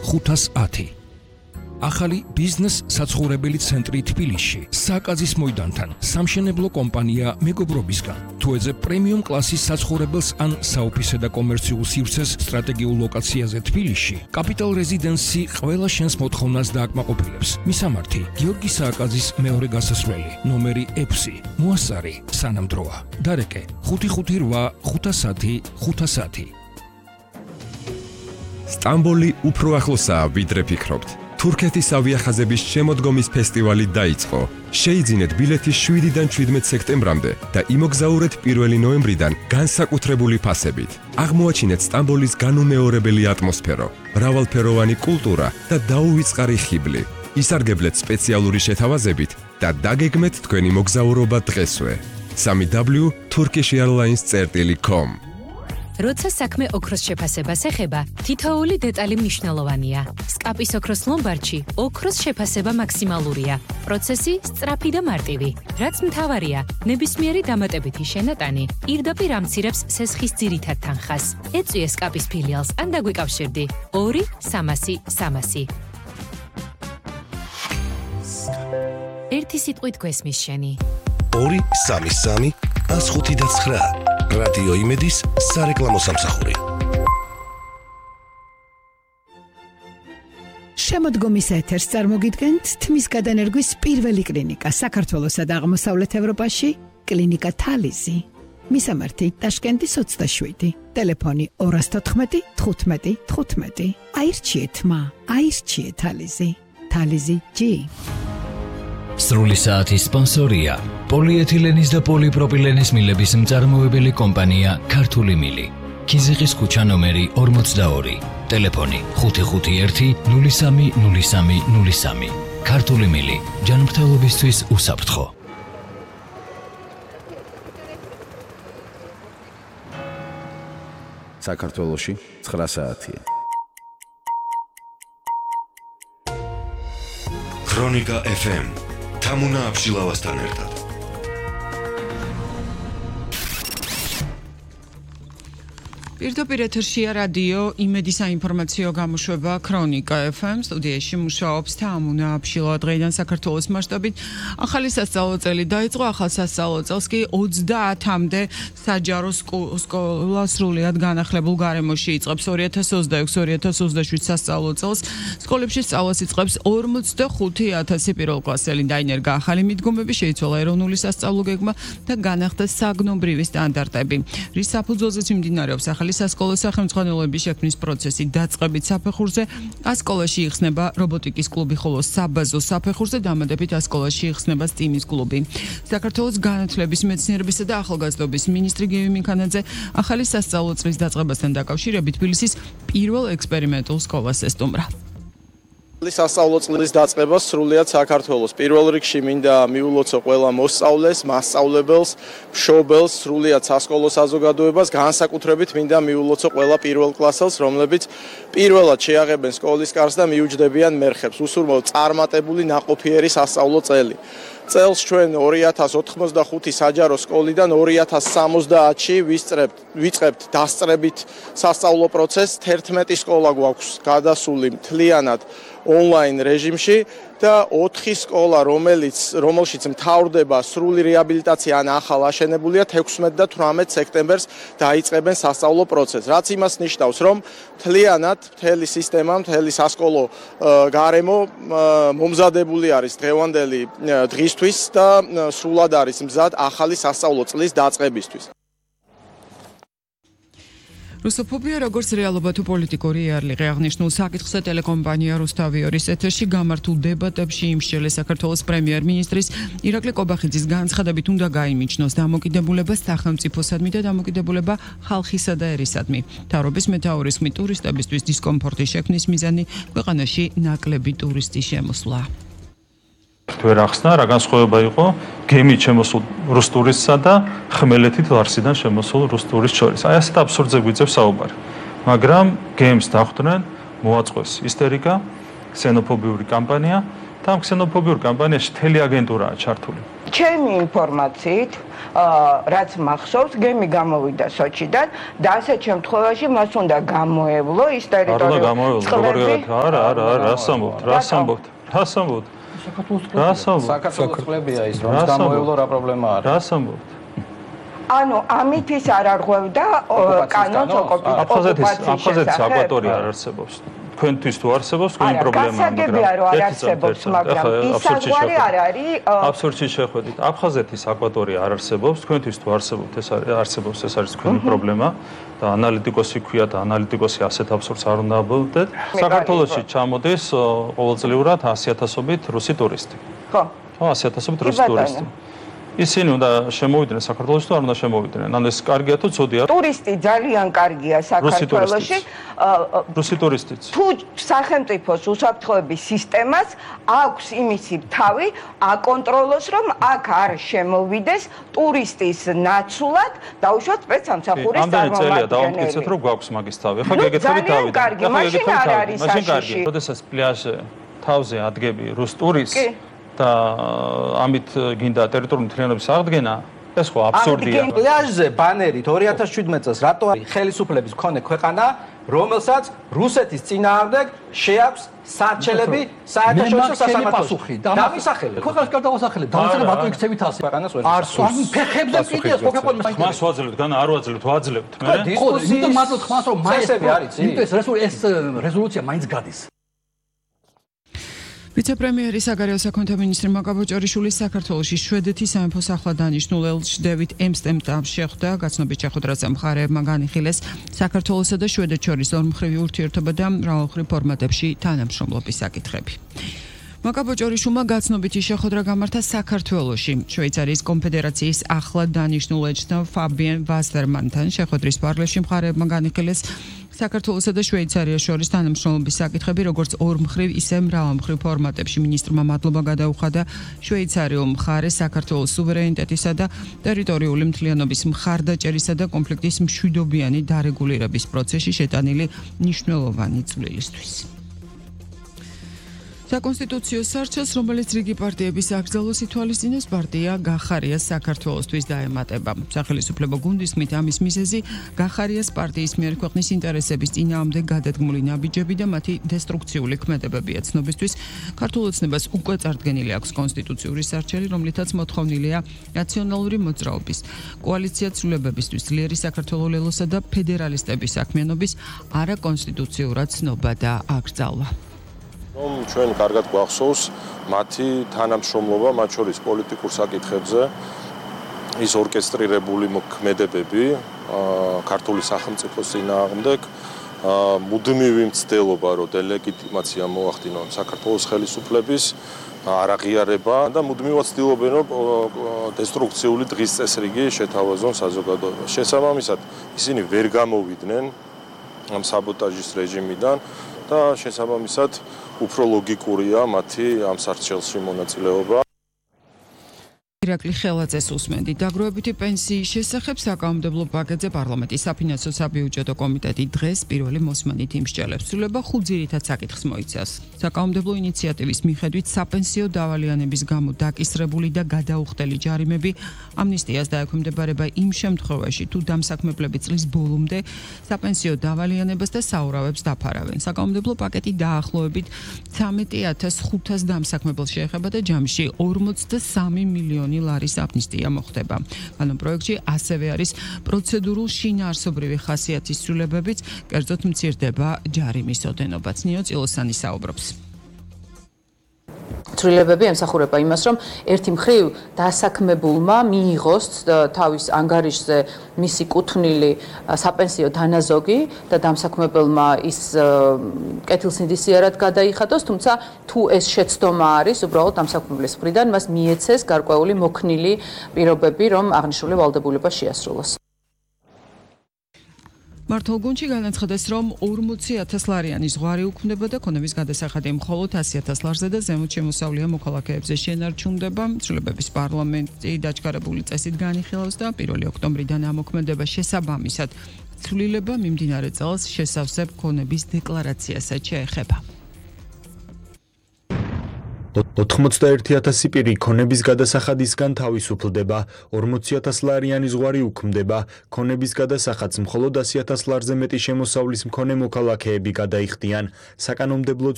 510. ახალი ბიზნეს საცხოვრებელი ცენტრი თბილისში, სააკაძის მოედანთან, სამშენებლო კომპანია მეგობრობისგან. თუ ეძებ პრემიუმ კლასის საცხოვრებელს ან საოფისე და კომერციულ სივრცეს სტრატეგიულ ლოკაციაზე თბილისში, კაპიტალ რეზიდენსი ყველა შენს მოთხოვნას დააკმაყოფილებს. მისამართი: გიორგი სააკაძის მეორე გასასვლელი, ნომერი 6, მოასწარი, სანამდროა. დარეკე: 558 510 510. სტამბოლი უფრო ახლოსაა, ვიდრე ფიქრობთ. თურქეთის ავიახაზების შემოდგომის ფესტივალი დაიწყო. შეიძინეთ ბილეთი 7-დან 17 სექტემბრამდე და იმოგზაურეთ 1 ნოემბრიდან განსაკუთრებული ფასებით. აღმოაჩინეთ სტამბოლის განუმეორებელი ატმოსფერო, მრავალფეროვანი კულტურა და დაუვიწყარი ხიბლი. ისარგებლეთ სპეციალური შეთავაზებით და დაგეგმეთ თქვენი მოგზაურობა დღესვე. www.turkishairlines.com. როცა საქმე ოქროს შეფასებას ეხება, თითოეული დეტალი მნიშვნელოვანია. სკაპის ოქროს ლომბარდში ოქროს შეფასება მაქსიმალურია. პროცესი სწრაფი და მარტივი. რაც მთავარია, ნებისმიერი დამატებითი შენატანი პირდაპირ ამცირებს სესხის ძირითად თანხას. ეწვიე სკაპის ფილიალს ან დაგვიკავშირდი 2 300 300. ერთი სიტყვით გვესმის შენი. 2 300 159. რადიო იმედის სარეკლამო სამსახური. შემოდგომის ეთერს წარმოგიდგენთ თმის გადანერგვის პირველი კლინიკა საქართველოსა და აღმოსავლეთ ევროპაში, კლინიკა თალიზი. მისამართი: ტაშკენტის 27, ტელეფონი 214 15 15. აირჩიეთ მა, აირჩიეთ თალიზი. თალიზი G. სრული საათის სპონსორია პოლიეთილენის და პოლიპროპილენის მილების მწარმოებელი კომპანია ქართული მილი. ქიზიყის ქუჩა ნომერი 42, ტელეფონი 551 03 03 03. ქართული მილი, ჯანმრთელობისთვის უსაფრთხო. საქართველოში 9 საათია. ქრონიკა FM თამუნა აბშილავასთან ერთად. პირდაპირ ეთერშია რადიო იმედის საინფორმაციო გამოშვება ქრონიკა FM. სტუდიაში მუშაობს თამუნა აბშილავა. დღეიდან საქართველოს მასშტაბით ახალი სასწავლო წელი დაიწყო. ახალ სასწავლო წელს კი 30-მდე საჯარო სკოლა სრულიად განახლებულ გარემოში იწყებს. 2026-2027 სასწავლო წელს სკოლებში სწავლას იწყებს 45,000 პირველკლასელი. დაინერგა ახალი მიდგომები, შეიცვალა ეროვნული სასწავლო გეგმა და განახდა საგნობრივი სტანდარტები. რის საფუძველზეც მიმდინარეობს ახალი სასკოლო სახელმძღვანელოების შექმნის პროცესი. დაწყებით საფეხურზე ასკოლაში იხსნება რობოტიკის კლუბი, ხოლო საბაზო საფეხურზე დამატებით ასკოლაში იხსნება სტიმის კლუბი. საქართველოს განათლების, მეცნიერებისა და ახალგაზრდობის მინისტრი გივი მიქანაძე ახალი სასწავლო წლის დაწყებასთან დაკავშირებით თბილისის პირველ ექსპერიმენტულ სკოლას ესტუმრა. სასწავლო წლის დაწყება სრულიად საქართველოს. პირველ რიგში მინდა მიულოცო ყველა მოსწავლეს, მასწავლებელს, მშობელს, სრულიად სასკოლო საზოგადოებას, განსაკუთრებით მინდა მიულოცო ყველა პირველ კლასელს, რომლებიც პირველად შეაღებენ სკოლის კარს და მიუჯდებიან მერხებს. უსურმოთ წარმატებული ნაყოფიერი სასწავლო წელი. წელს ჩვენ 2085 საჯარო სკოლიდან 2070-ში ვიწყებთ დასწრებით სასწავლო პროცესს. 11 სკოლა გვაქვს გადასული მთლიანად ონლაინ რეჟიმში და 4 სკოლა, რომელშიც მთავრდება სრული რეაბილიტაცია ან ახალ აშენებულია, 16 და 18 სექტემბერს დაიწყებენ სასწავლო პროცესს. რაც იმას ნიშნავს, რომ მთლიანად მთელი სისტემა, მთელი სასკოლო გარემო მომზადებული არის დღევანდელი დღისთვის და სრულად არის მზად ახალი სასწავლო წლის დაწყებისთვის. რუსოფობია როგორც რეალობა თუ პოლიტიკური იარლიღი აღნიშნულ საკითხზე ტელეკომპანია რუსთავიორის ეთერში გამართულ დებატებში იმსჯელე საქართველოს პრემიერ-მინისტრის ირაკლი კობახიძის განცხადებით უნდა გაიმიჯნოს დამოკიდებულება სახელმწიფოსადმი და დამოკიდებულება ხალხისა და ერისადმი. მთავრობის მეთაურის ხმით ტურისტებისთვის დისკომფორტის შექმნის მიზანი ქვეყანაში ნაკლები ტურისტის შემოსვლა. ვერ ახსნა რა განსხვავება იყო გემით შემოსულ რუს ტურისტსა და ხმელეთით ლარსიდან შემოსულ რუს ტურისტს შორის. აი ასეთ აბსურდზე გვიწევს საუბარი. მაგრამ გემს დახვდნენ, მოაწყვეს ისტერიკა, ქსენოფობიური კამპანია და ამ ქსენოფობიურ კამპანიაში მთელი აგენტურაა ჩართული. ჩემი ინფორმაციით რაც მახსოვს, გემი გამოვიდა სოჩიდან და ასეთ შემთხვევაში მას უნდა გამოევლო ის ტერიტორიული წყლები. რას ამბობთ? საქართველოს წყლებია ის, რომ გამოევლო რა პრობლემა არის? რას ამბობთ? ანუ ამით ის არ არღვევდა კანონს აფხაზეთის აკვატორია არ არსებობს. თქვენთვის თუ არსებობს, თქვენი პრობლემაა, მაგრამ გასაგებია რომ არ არსებობს, მაგრამ ისაგვარი არ არის. აბსურდში შეხვედით. აფხაზეთის აკვატორია არ არსებობს, თქვენთვის თუ არსებობს, ეს არის თქვენი პრობლემა და ანალიტიკოსი ქვია და ანალიტიკოსი ასეთ აბსურდს არ უნდა აბოლდეთ. საქართველოში ჩამოდის ყოველწლიურად 100,000-ობით რუსი ტურისტი. ხო. 100,000-ობით რუსი ტურისტი. ისინი უნდა შემოვიდნენ საქართველოში თუ არ უნდა შემოვიდნენ? ანუ ეს კარგია თუ ცუდია? ტურისტი ძალიან კარგია საქართველოში. რუსი ტურისტიც. თუ სახელმწიფოს უსაფრთხოების სისტემას აქვს იმისი თავი აკონტროლოს, რომ აქ არ შემოვიდეს ტურისტის ნაცვლად დაუშვათ სპეცსამსახურის წარმომადგენელი. ამდენი წელია დავამტკიცეთ, რომ გვაქვს მაგის თავი. ახლა გეკითხები თავი. მაშინ არ არის საშიში. როდესაც პლაჟზე თავზე ადგები რუს ტურისტს და ამით გინდა ტერიტორიული მთლიანობის აღდგენა, ეს ხო აბსურდია. პლაჟზე ბანერით 2017 წელს რატო არის ხელისუფლების მქონე ქვეყანა, რომელსაც რუსეთის წინააღმდეგ შეაქვს საარჩელები საერთაშორისო სასამართლოში. დამისახელებ. ქვეყანას გადავასახელებ. დამისახელებ რატო იქცევით ასე? ქვეყანას ვერ არსოს. ფეხებზე კიდეს მოხეყოლ ხმას ვაძლევთ, განა არ ვაძლევთ, ვაძლევთ. მე იმიტომ მარტო ხმას რომ წესები არის, იმიტომ ეს რეზოლუცია მაინც გადის. ვიცე-პრემიერი საგარეო საქმეთა მინისტრი მაკაბო ჭორიშვილის საქართველოში შვედეთის სამეფო სახვადანიშნულ ელჩდევით ემსტემტამ შეხვდა. გაცნობით შეხვედრას მხარეებმა განიხილეს საქართველოსა და შვედეთს შორის ორმხრივი ურთიერთობა და მრავალმხრივ ფორმატებში თანამშრომლობის საკითხები. მაკაბო ჭორიშვილმა გაცნობითი შეხვედრა გამართა საქართველოში. შვეიცარიის კონფედერაციის ახლად დანიშნულ ელჩთან ფაბიენ ვასერმანთან შეხვედრის პარალელში მხარეებმა განიხილეს საქართველოსა და შვეიცარიას შორის თანამშრომლობის საკითხები, როგორც ორმხრივ, ისე მრავალმხრივ ფორმატებში. მინისტრმა მადლობა გადაუხადა შვეიცარიულ მხარეს საქართველოს სუვერენიტეტისა და ტერიტორიული მთლიანობის მხარდაჭერისა და კონფლიქტის მშვიდობიანი დარეგულირების პროცესში შეტანილი მნიშვნელოვანი წვლილისთვის. საკონსტიტუციო სარჩელს, რომელიც რიგი პარტიების აკრძალოს ითვალისწინებს, პარტია გახარიას საქართველოსთვის დაემატება. სახელისუფლებო გუნდის თქმით, ამის მიზეზი გახარიას პარტიის მიერ ქვეყნის ინტერესების წინააღმდეგ გადადგმული ნაბიჯები და მათი დესტრუქციული ქმედებებია. ცნობისთვის, ქართულ ოცნებას უკვე წარდგენილი აქვს კონსტიტუციური სარჩელი, რომლითაც მოთხოვნილია ნაციონალური მოძრაობის, კოალიცია ცვლილებებისთვის, ძლიერი საქართველოს ლელოსა და ფედერალისტების საქმიანობის არაკონსტიტუციურად ცნობა და აკრძალვა. რომ ჩვენ კარგად გვახსოვს მათი თანამშრომლობა მათ შორის პოლიტიკურ საკითხებზე, ის ორკესტრირებული მოქმედებები ქართული სახელმწიფოს წინააღმდეგ, მუდმივი მცდელობა, რომ დელეგიტიმაცია მოახდინონ საქართველოს ხელისუფლების არაღიარება და მუდმივად ცდილობენ, რომ დესტრუქციული დღის წესრიგი შეთავაზონ საზოგადოებას. შესაბამისად, ისინი ვერ გამოვიდნენ ამ საბოტაჟის რეჟიმიდან და შესაბამისად უფრო ლოგიკურია მათი ამ სარჩელში მონაწილეობა. ირაკლი ხელაძეს უსმენდი. დაგროვებითი პენსიის შესახებ საკანონმდებლო პაკეტზე პარლამენტის საფინანსო საბიუჯეტო კომიტეტი დღეს პირველი მოსმენით იმსჯელებს. ცვლილება 5 ძირითად საკითხს მოიცავს. საკანონმდებლო ინიციატივის მიხედვით საპენსიო დავალიანების გამო დაკისრებული და გადაუხდელი ჯარიმები ამნისტიას დაექვემდებარება იმ შემთხვევაში, თუ დამსაქმებლები წლის ბოლომდე საპენსიო დავალიანებას და საურავებს დაფარავენ. საკანონმდებლო პაკეტი დაახლოებით 13,500 დამსაქმებელს შეეხება და ჯამში 43 მილიონი ლარის ამნისტია მოხდება. კანონპროექტში ასევე არის პროცედურულ შინაარსობრივი ხასიათის ცვლილებებიც, კერძოდ მცირდება ჯარიმის ოდენობაც. ნიო წილოსანი საუბრობს. ცვლილებები ემსახურება იმას, რომ ერთი მხრივ დასაქმებულმა მიიღოს თავის ანგარიშზე მისი კუთვნილი საპენსიო დანაზოგი და დამსაქმებელმა ის კეთილსინდისიერად გადაიხადოს, თუმცა თუ ეს შეცდომა არის, უბრალოდ დამსაქმებლის მხრიდან მას მიეცეს გარკვეული მოქნილი პირობები, რომ აღნიშნული ვალდებულება შეასრულოს. მართლ გუნდში განაცხადეს, რომ 40,000 ლარიანი ზღვარი უქმდება და ქონების გადასახადი მხოლოდ 100,000 ლარზე და ზემოთ შემოსავლიან მოქალაქეებზე შენარჩუნდება. ცვლილებების პარლამენტი დაჩქარებული წესით განიხილავს და 1 ოქტომბრიდან ამოქმედება შესაბამისად. ცვლილება მიმდინარე წელს შესავსებ ქონების დეკლარაციასაც შეეხება. 91,000 პირი ქონების გადასახადისგან თავისუფლდება, 40,000 ლარიანი ზღვარი უქმდება, ქონების გადასახადს მხოლოდ 100,000 ლარზე მეტი შემოსავლის მქონე მოქალაქეები გადაიხდიან. საკანონმდებლო